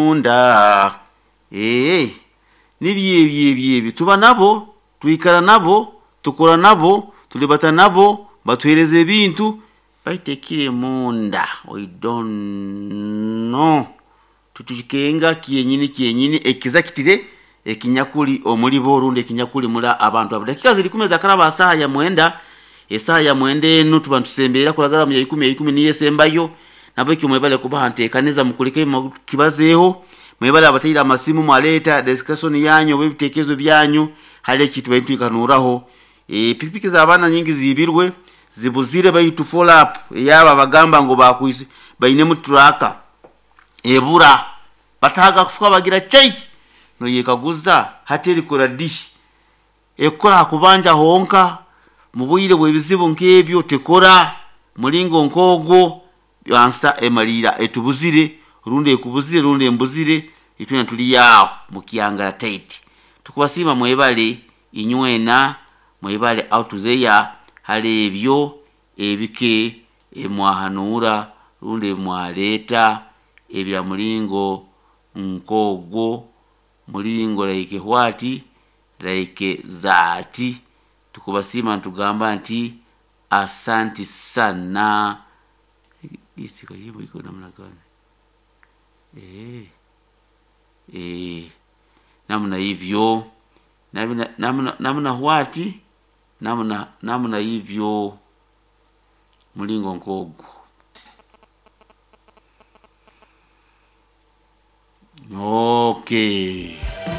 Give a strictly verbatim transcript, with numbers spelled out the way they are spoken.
Munda ee nibyo ebyo ebyo ebyo tuba nabo, twikara nabo, tukora nabo, tulibata nabo, batuheereza ebintu, baitu ekiri munda we don't know. Titukikenga kyenyini kyenyini ekiza kitire ekinyakuli omuli bo rundi ekinyakuli muri abantu abo. Dakika ziri ikumi ezakaraba ha saaha ya mwenda, esaaha ya mwenda enu tuba nitusemberera kuragara mu ya ikumi, ya ikumi niyo esembayo. Nabwekyo mwebale kubaha nteekaniza mukuleke kibazeeho, mwebale abataire amasimu mwaleeta discussion yanyu oba ebiteekerezo byanyu hali eki tubaire nitwikanuraho. E, pikipiki z'abaana nyingi ziibirwe, zibuzire baitu follow up eyabo abagamba ngu bakwise bainemu tracker ebura, bataaga kufuka bagira chai, noyekaguza hati erikora di? Ekukora ha kubanja honka, mu bwire bw'ebizibu nk'ebyo tekora, mulingo nk'ogwo ansa emaliira etubuzire rundi ekubuzire rundi embuzire, itwena tuli aho mu kyangara tight. Tukubasiima mwebale inywena, mwebale out there hali ebyo ebike ebimwahanuura rundi ebimwaleeta ebya mulingo nk'ogwo, mulingo like what, like that. Tukubasiima nitugamba nti asanti sana. Iko namna gani? Eh, eh, namna hivyo namna, namna, namna what, namna, namna hivyo mulingo nk'ogwo. Okay.